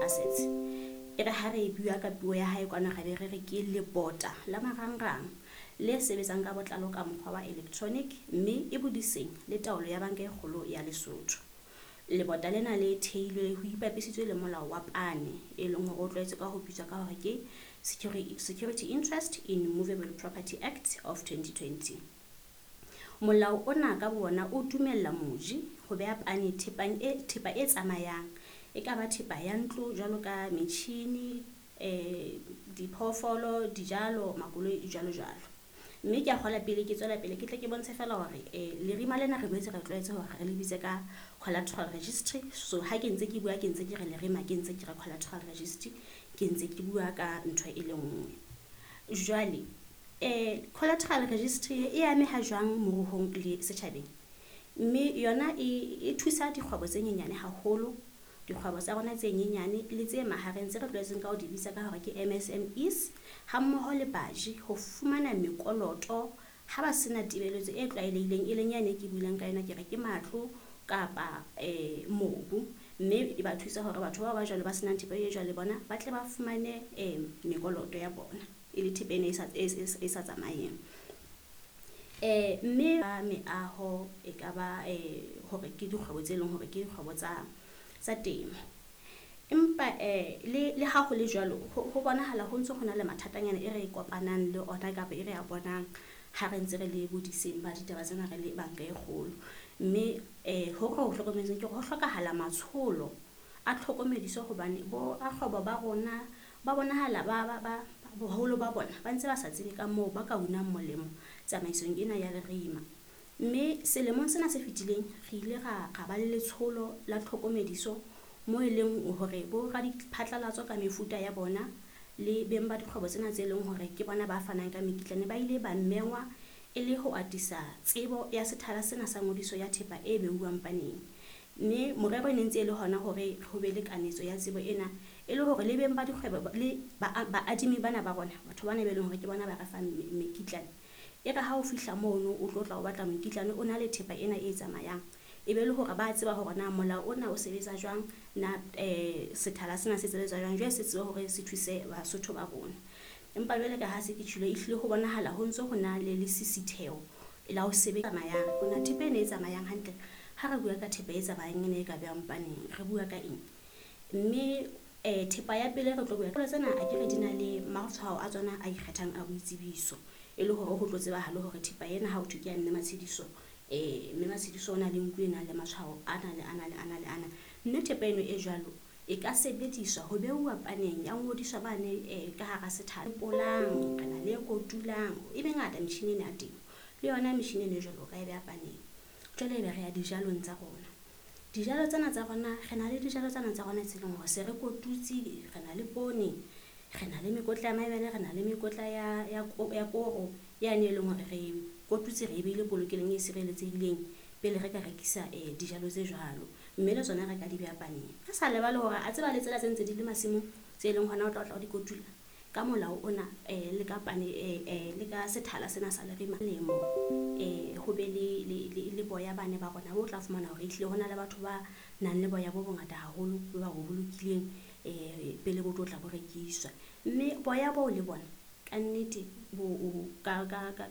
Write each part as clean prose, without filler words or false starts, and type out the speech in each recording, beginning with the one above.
Assets. E re ha re e bua ka puo ya hae kwana, re be re re ke lebota la marangrang le sebetsang ka botlalo ka mokgwa wa electronic, mme e bodiseng le taolo ya Banka e Kgolo ya Lesotho. Lebota lena le theilwe ho ipapisitswe le molao wa pane, e leng hore o tlwaetse ka ho bitswa ka hore ke Security Interest in Movable Property Act of 2020. Molao ona ka bona o dumella moji ho beha pane thepa e tsamayang, e ka ba thepa ya ntlo jwalo ka metjhini, diphoofolo, dijalo, makoloi, jwalo jwalo. Mme ke a kgola pele ke tswela pele, ke tle ke bontshe fela hore lerima lena re boetse re tlwaetse hore re le bitse ka collateral registry. So ha ke ntse ke bua, ke ntse ke re lerima, ke ntse ke re collateral registry, ke ntse ke bua ka ntho e le nngwe. Jwale collateral registry e ameha jwang moruong le setjhabeng? Mme yona e thusa dikgwebo tse nyenyane haholo, dikgwebo tsa rona tse nyenyane le tse mahareng tse re tlwaetseng ka ho di bitsa ka hore ke MSMEs, ha mmoho le baji ho fumana mekoloto ha ba sena tebeletso e tlwaelehileng, e leng yane e ke buileng ka yona, ke re ke matlo kapa mobu. Mme e ba thusa hore batho bao ba jwalo ba senang thepa e jwalo le bona ba tle ba fumane mekoloto ya bona e le thepa ena e sa tsamayeng. Mme meaho e ka ba hore ke dikgwebo tse leng hore ke dikgwebo tsa temo. Empa le ha ho le jwalo, ho bonahala ho ntso ho na le mathatanyana e re kopanang le ona kapa e re a bonang ha re ntse re le bodiseng ba ditaba tsena re le banka e kgolo. Mme ho re ho hlokometseng ke hore ho hlokahala matsholo a tlhokomediso, hobane bo rakgwebo ba rona ba bonahala ba boholo ba bona ba ntse ba sa tsebe ka moo ba ka unang molemo tsamaisong ena ya lerima. Mme selemong sena se fetileng re ile ra ba le letsholo la tlhokomediso mo e leng hore bo radiphatlalatso ka mefuta ya bona le beng ba dikgwebo tsena tse leng hore ke bona ba fanang ka mekitlane ba ile ba mengwa e le ho atisa tsebo ya sethala sena sa ngodiso ya thepa e beuwang paneng. Mme morero e ne ntse e le hona hore ho be le kanetso ya tsebo ena, e le hore le beng ba dikgwebo le baadimi bana ba rona, batho bana be leng hore ke bona ba re fang mekitlane, e re ha o fihla mono o tlo tla o batla mokitlane o na le thepa ena e tsamayang, e be le hore ba tseba hore na molao ona o sebetsa jwang, na sethala sena se sebetsa jwang, jwale se tsebe hore se thuse Basotho ba rona. Empa jwale ka ha se ke tjhilo, ehlile ho bonahala ho ntso ho na le lesisitheho la ho sebetsa tsamayang. Hona thepa ena e tsamayang hantle, ha re bua ka thepa e tsamayang ena e ka behang paneng, re bua ka eng? Mme thepa ya pele re tlo bua ka tsena, akere di na le matshwao a tsona a ikgethang a boitsebiso, e le hore ho tlo tsebahale hore thepa ena ha ho thwe ke ya Mme Matshediso, Mme Matshediso o na le nku e nang le matshwao ana le ana le ana le ana. Mme thepa eno e jwalo e ka sebediswa ho beuwa paneng ya ngodiswa bane ka hara sethala. Polang, re na le e kotulang, e mengata metjhini ena ya temo. Le yona metjhini eno e jwalo o ka e beha paneng. Jwale ebe re ya dijalong tsa rona. Dijalo tsena tsa rona, re na le dijalo tsena tsa rona tse leng hore se re kotutse, re na le poone, re na le mekotla ya mabele, re na le mekotla ya koro yane e leng hore re kotutse, re e behile polokelong e sireletsehileng pele re ka rekisa dijalo tse jwalo. Mme le tsona re ka di beha paneng. Re sa lebale hore a tseba le tsela tse ntse di le masimong tse leng hona o tla tla o di kotula ka molao ona le ka pane le ka sethala sena sa lerima lemo, ho be le boya bane ba rona bo tla fumana hore ehlile hona le batho ba nang le boya bo bongata haholo bo ba bo bolokileng pele bo tlo tla bo rekiswa. Mme boya boo le bona ka nnete bo ka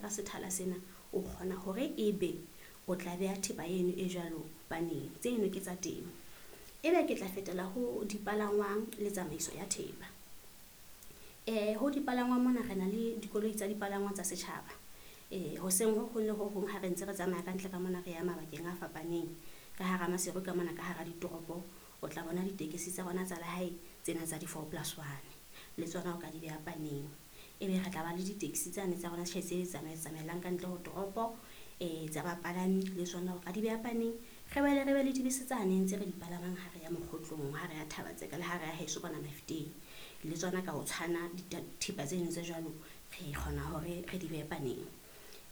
sethala sena o kgona hore ebe o tla beha thepa eno e jwalo paneng. Tseno ke tsa temo. Ebe ke tla fetela ho dipalangwang le tsamaiso ya thepa. Ho dipalangwang mona re na le dikoloi tsa dipalangwang tsa setjhaba. Hoseng ho hong le ho hong ha re ntse re tsamaya ka ntle ka mona re ya mabakeng a fapaneng, ka hara Maseru ka mona, ka hara ditoropo, o tla bona ditekesi tsa rona tsa lehae tsena tsa di-4+1, le tsona o ka di beha paneng. Ebe re tla ba le di-taxi tsane tsa rona tjhe tse tsamaelang ka ntle ho toropo, tsa bapalami, le tsona o ka di beha paneng. Re boele re be le dibese tsane tse re di palamang ha re ya Mokgotlong, ha re ya Thaba-Tseka le ha re ya heso kwana Mafeteng. Le tsona ka ho tshwana dithepa tseno tse jwalo re kgona hore re di behe paneng.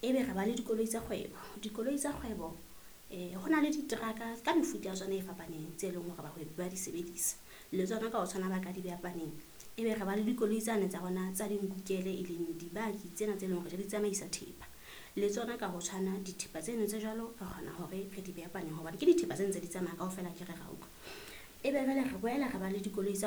Ebe re ba le dikoloi tsa kgwebo. Dikoloi tsa kgwebo, ho na le diteraka ka mefuta ya tsona e fapaneng tse leng hore bahwebi ba di sebedisa. Le tsona ka ho tshwana ba ka di beha paneng. Ebe re ba le dikoloi tsane tsa rona tsa dinkukele, e leng dibaki tsena tse leng hore di tsamaisa thepa. Le tsona ka ho tshwana dithepa tseno tse jwalo re kgona hore re di behe paneng hobane ke dithepa tse ntse di tsamaya kaofela, akere ra utlwa. Ebe jwale re boela re ba le dikoloi tsa